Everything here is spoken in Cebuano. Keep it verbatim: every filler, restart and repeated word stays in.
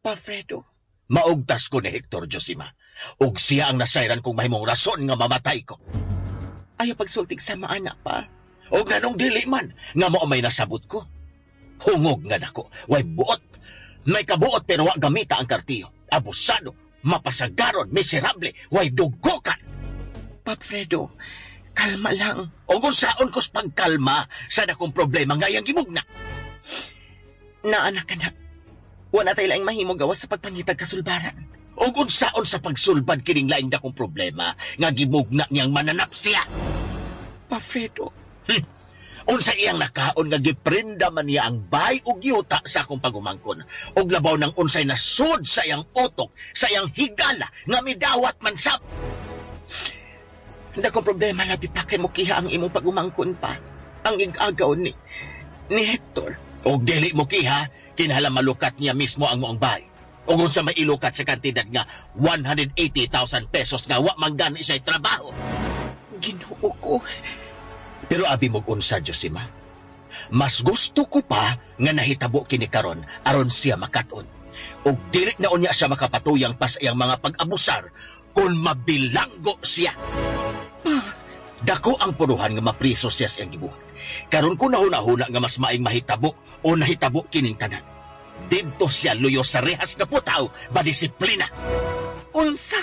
Pa Fredo, Maugtas ko ni Hector, Josima. Ug siya ang nasayran kong mahimong rason nga mamatay ko. Ayaw pagsultig sa maana pa. O ganong dili man, nga mao may nasabot ko. Hungog nga dako, way buot. May kabuot pero wa gamita ang kartiyo. Abusado, mapasagaron, miserable, way dugokan. Pa Fredo, kalma lang. O kung saon kos pagkalma sa dakong problema nga iyang gimugna. Naana ka na. Wala tayo laing mahimo gawas sa pagpangitag kasulbaran. O kung saon sa pagsulbad kining laing dakong problema nga gimugna niyang mananap siya. Pa Fredo, Hmm. Unsa iyang nakaon nga giprenda man niya ang bay ug yuta sa akong pagumangkon. Ug labaw ng unsay nasud sa iyang utok, sa iyang higala nga midawat man sab. Dakong problema labi pa kay mukiha ang imong pagumangkon pa. Ang igagaw ni ni Hector. Og dili mo kiha, kinahanglan malukat niya mismo ang moang bay. Ug unsa may ilukat sa kantidad nga one hundred eighty thousand pesos nga wa man gani siya'y trabaho. Ginoo ko. Pero abi mo unsa, Josima. Mas gusto ko pa nga nahitabo kini karon aron siya makat-on. Ug dili na unya siya makapatuyang pa sa iyang mga pag-abusar kung mabilanggo siya. Dako ang puruhan nga mapriso siya sa iyang gibuhat. Karon ko nahuna-huna nga mas maing mahitabo o nahitabo kining tanan. Didto siya luyo sa rehas nga putaw, madisiplina. Unsa?